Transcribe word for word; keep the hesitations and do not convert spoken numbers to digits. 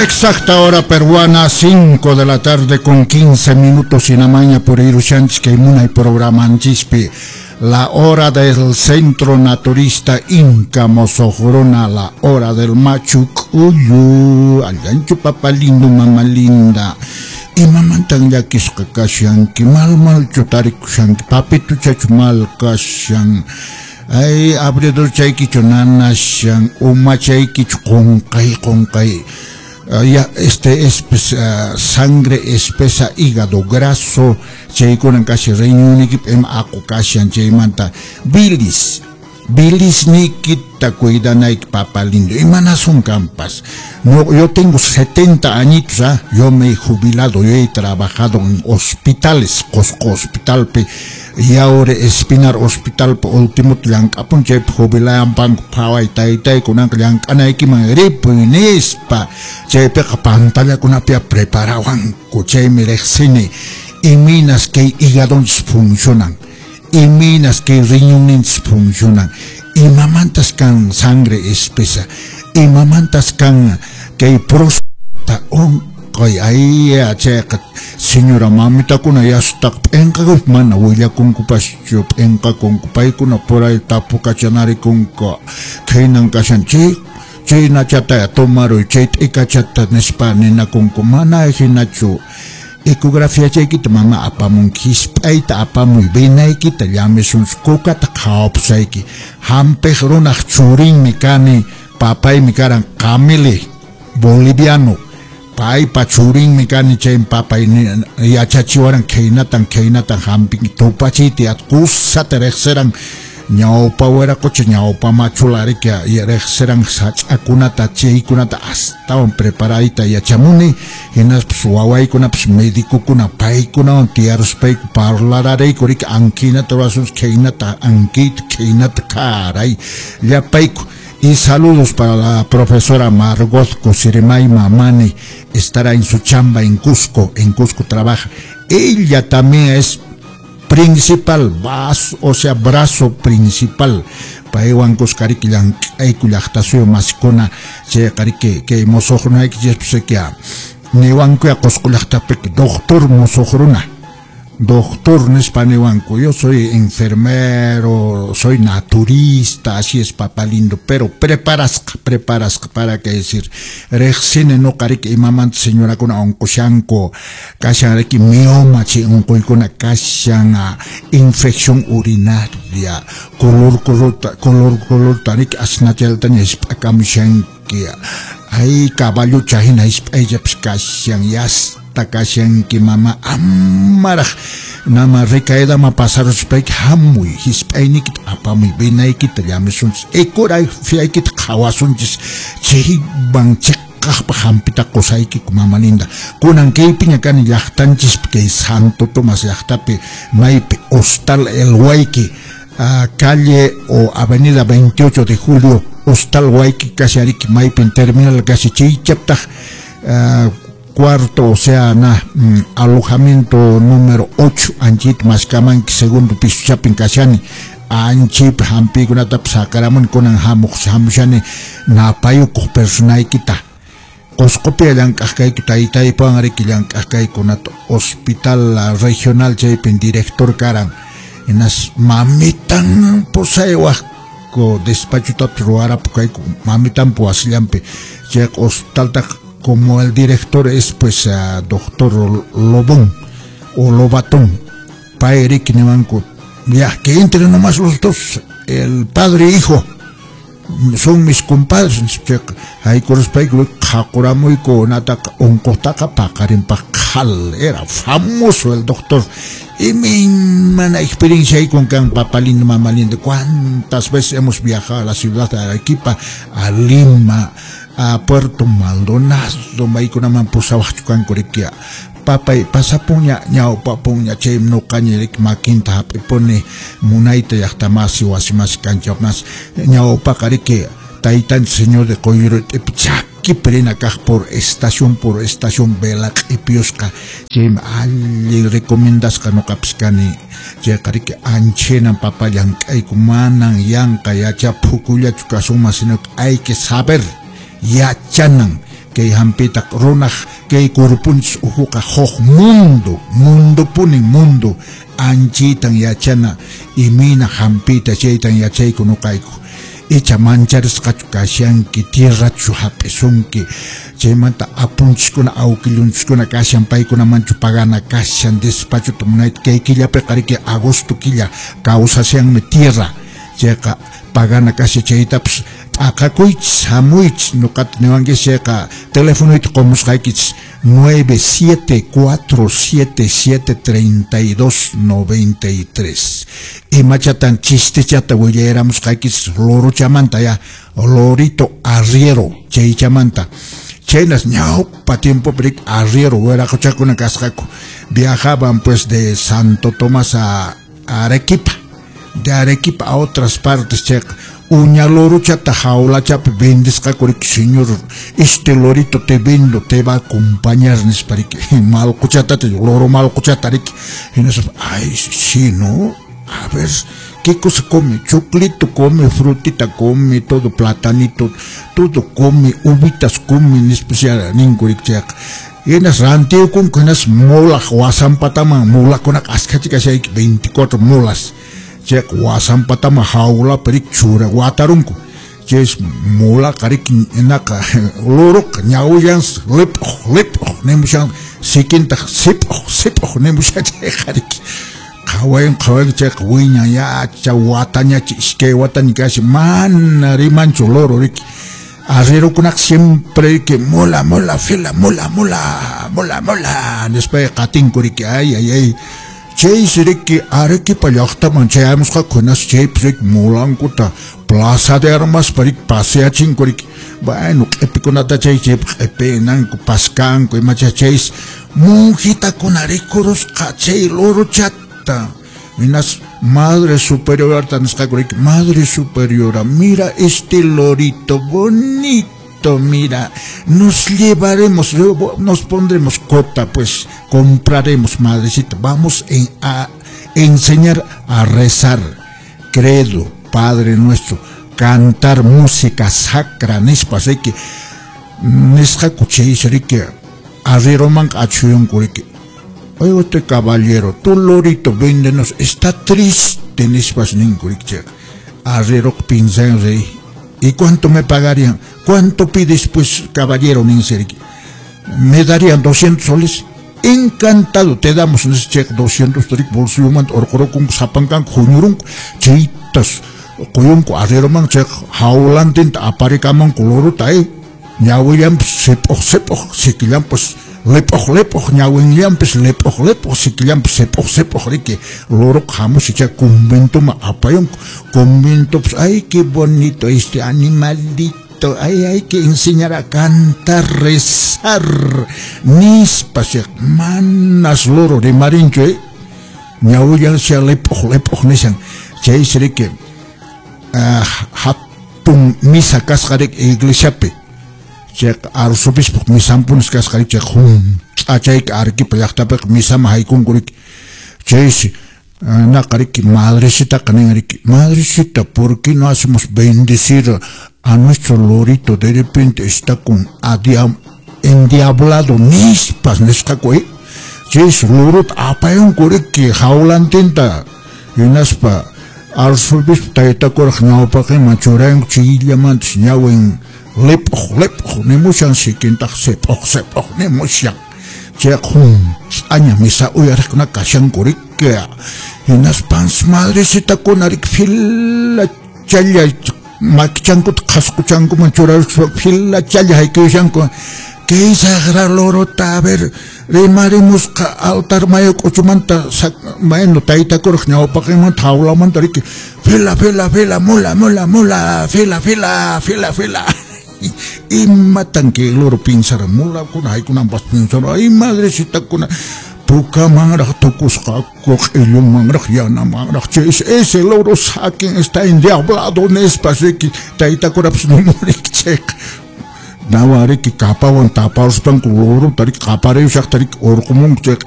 Exacta hora peruana, cinco de la tarde con quince minutos y namaña por Irushanchis que munay programanchishpi. La hora del Centro Naturista Inca Mosoqruna, la hora del Machu K'ullu. Allanchu papá lindo, mamá linda. Imamantan llakisqa kashanki, mal malchu tarikushanki, papituchachu mal kashan. Ay, abridor chaykichu nanashan, umachaykichu qunqay qunqay. Uh, ya, este es pues, uh, sangre espesa, hígado graso, chaykunan kasi riñunniykipi ima aqu kashan chaymanta bilis, bilis niykita cuidanayki papá lindo, imanasun kanpas. No, yo tengo setenta añitos, ¿ah? Yo me he jubilado, yo he trabajado en hospitales, Cusco Hospitalpi, y ahora Espinar Hospital, último llank'apun chaypi jubilayanpanku phaway taytay kunanqa llank'anaykiman ripuy nispa, chaypiqa pantallakunapi preparawanku, chaymi riqsini imaynas kay hígadonchis funcionan, imaynas kay riñonninchis funcionan, imamantas kan sangre espesa, imamantas kan kay próstata unquy. Ay, chayqa señora mamitakuna yasutaqa p'inqakuypi mana willakunkupaschu, p'inqakunku paykuna por ahí tapukachanarikunku, khaynan kashan chay chay nachataya tomaruy, chay t'ikachata nispa ninakunku, mana hinachu. Ecografía chaykita mama apamunki, hisp'ayta apamuy, venaykita llamisunchis, kukata qhawapusayki. Hampiq runaq churinmi kani, papaymi karan Camili, boliviano. Paypa churinmi kani, chaymi papay yachachiwaran khaynatan khaynatan hampinki, tupachiyta kusata riqsiran ñawpa wiraqocha, ñawpa machula riki riqsiran sach'akunata chaykunata astawan preparayta yachamuni, hinaspas wawaykunapas medicokuna paykunawan tiyaruspayku parlararayku riki ankinata rurasunchis, khaynata ankiyta khaynata karay llapayku. Y saludos para la profesora Margot Cosirimay Mamani, estará en su chamba en Cusco, en Cusco trabaja. Ella también es principal, vaso, o sea, brazo principal. Paywan kuskariki llank'ayku llaqtasuyu masikuna, chayqariki kay musuqrunaykichis niwankuya Cusco llaqtapiki doctor musuqruna. Doctor nispa niwanku, yo soy enfermero, soy naturista, así es papá lindo, pero preparasqa, preparasqa para que decir, riqsini nuqariki imamanta señorakuna unqushanku, kashan riki mioma chay unquykuna kashan, infección urinaria, color colorta, color colorta riki asnachaltaña hisp'akamushanki, ay caballucha hina hisp'ayllapas kashan, yasta kashanki mama, amaraq nama recaídama pasaruspayki hamuy, hisp'ayniykita apamuy, venaykita llamisunchis, ecografiaykita qhawasunchis, chaywan chiqaqpaq hampita qusaykiku mama linda. Kunan kaypiña kani llaqtanchispi kay Santo Tomás llaqtapi, maypi Hostal El Huayqui, calle o avenida veintiocho de julio, Hostal Huayqui casi ariki maypin terminal casi chaychaptaq cuarto, o sea, na, mm, alojamiento número ocho, anchit maskamanki segundo piso chapin kashani, anchip hampikunatapas sakaramuni kunan hamuq hamushani napayukuq personaykita. Cuscopi llank'aq kayku taytaypawan riki llank'aq kaykunata hospital regional chaypin director karan, hinas mamitan pusaywaqku despachotapis ruwarapu kayku mamitanpa wasillanpi, chayqa hospitaltaq como el director es pues uh, doctor Lobón o Lobatón, pay riki niwanku, ya que entren nomás los dos, el padre e hijo, son mis compadres, haykuruspayku qhaquramuyku nataqa unquqtaqa paqarinpaq qhal, era famoso el doctor. Y mi mana experiencia ahí con can papá lindo, mamá lindo, cuántas veces hemos viajado a la ciudad de Arequipa, a Lima, a Puerto Maldonado, maykunaman pusawaqchu kanku riki, papay pasapunña ñawpapunña chay nuqaña riki makinta hap'ipuni munayta llaqtamasi wasimasi kanchapmas ñawpaqa riki taytanchis señor de Qoyllurut'ipi chakipi rina kaq por estación por estación vela q'ipiyusqa, chaymi allin recomendasqa nuqapis kani, chayqa riki anchhinan papa llank'ayku, manan yanqa yachaphukullachu kasunman, sino que hay que saber yachanan Kay hampita runaq kay kurpunchis uhuqa huk mundo, mundo punin mundo, anchitan yachana imina hampita chaytan yachayku nuqayku. Icha mancharisqachu kashanki, tierrachu hap'isunki, chaymanta apunchiskuna awkillunchiskuna kashan, paykunamanchu pagana kashan, despachuta munayta kay killapiqa riki agosto killa kawsashanmi tierra, chayqa pagana kashan chaytapas t'aqakuychis hamuychis nuqata niwankichis chayqa telefonoyta qumusqaykichis nueve siete cuatro siete siete treinta y dos noventa y tres. Imachatan chistechata willayramusqaykichis lorochamanta ya, lorito arriero chaychamanta. Chaynas ñawpa tiempopi riki arriero wiraqochakuna kasqaku, viajaban pues de Santo Tomás a Arequipa, de Arequipa a otras partes chayqa uña lorochata jaulachapi vendisqaku riki, señor, este lorito te vendo, te va a acompañar nispa riki, malquchatata, loro malquchata riki, hinaspa, ay, sí, no, a ver, ¿qué cosa come? Choclito come, frutita come, todo platanito, todo come, uvitas come, nispa ninku riki chayqa. Hinas rantiykunku, hinas mulaq wasanpataman, mulakunaqa askhachi kashayki, veinticuatro mulas. Chayqa wasanpataman jawlapi riki chura watarunku. Chays mulaqa riki naqa loroqa ñawillansi lip'uq lip'uq nimushan, sikintaq sip'uq sip'uq nimushan chayqa riki. Qhawayan qhawayan chayqa wiñan yacha watañachi iskay wataña kashan, mana rimanchu loro riki. Arrierokunaqa siempre riki mula mula fila mula mula mula mula nispa qatinku riki, ay ay ay. Chaysi riki Arequipa llaqtaman chayamusqaku, hinas chaypi riki mulankuta plaza de armaspa riki paseachinku riki. Bueno, q'ipikunata chay chaypi q'ipinanku paskanku imacha chaysi monjitakuna rikurusqa chay lorochata. Hinas madre superiorata nisqaku riki, madre superiora, mira este lorito bonito, mira, nos llevaremos, nos pondremos cota, pues compraremos, madrecita, vamos en, a enseñar a rezar, credo, Padre Nuestro, cantar música sacra, nispa, riki, nisqaku chaysi riki, arrieroman achuyunku riki, oye, este caballero, tu lorito, véndenos, está triste, nispas ninku riki, chayqa. Arriero pinsan rey, ¿y cuánto me pagarían? ¿Cuánto pides, pues, caballero? Ninse riki. Me darían doscientos soles. Encantado, te damos ese cheque doscientos riki, bolsilloman, orqurukun, sapankanku, huñurunku, chaytas, quyunku, arrieroman, chayqa, jaulantinta aparikamanku lorota, eh. Ñawillanpis sip'uq sip'uq, sikillanpis lip'uq lip'uq, ñawinllanpis lip'uq lip'uq, sikillanpis sip'uq sip'uq riki, loroqa hamusi chay conventoman apayunku, conventopis, ay, qué bonito este animalito, ay, hay que enseñar a cantar, rezar, nispa, manas loro rimarinchu, eh, ñawillansi lip'uq lip'uq nishan, chaysi riki, hatun misa kasqa riki iglesiapi, chayqa arzobispaq misanpunis kasqa riki, chayqa hunt'achayki Arequipa llaqtapiqa misaman haykunku riki, chaysi naqa riki madrecitaqa nin riki, madrecita, ¿por qué no hacemos bendecir a nuestro lorito? De repente está con endiablado, nispas nisqaku, eh, chaysi lorota apayunku riki jaulantinta, hinaspa arzobispo taytakuraq ñawpaqinman churayanku chayllamantas ñawin lip'uq lip'uq nimushan, sikintaq sip'uq sip'uq nimushan, chayqa hunt'aña misa uyariqkuna kashanku riki, hinaspansi madrecitakuna riki fila challa makichankuta qhasquchankuman churaruspa fila challa haykuyushanku, kay saqra lorota, a ver, rimarimusqa altar mayu k'uchumanta, bueno, taytakuraq ñawpaqinmanta jaulamanta riki, fila fila fila mula mula mula fila fila fila fila. Imatan kay loro pinsara, mulakuna haykunanpas pinsara, ay madrecitakuna pukamanraq tukusqaku, q'illumanraq, yanamanraq, chay ese loro saquen está endiablado nispas riki, taytakurapas nimuriki chayqa. Nawa riki kapawan taparuspanku lorota riki qapariyushaqta riki urqumunku chayqa.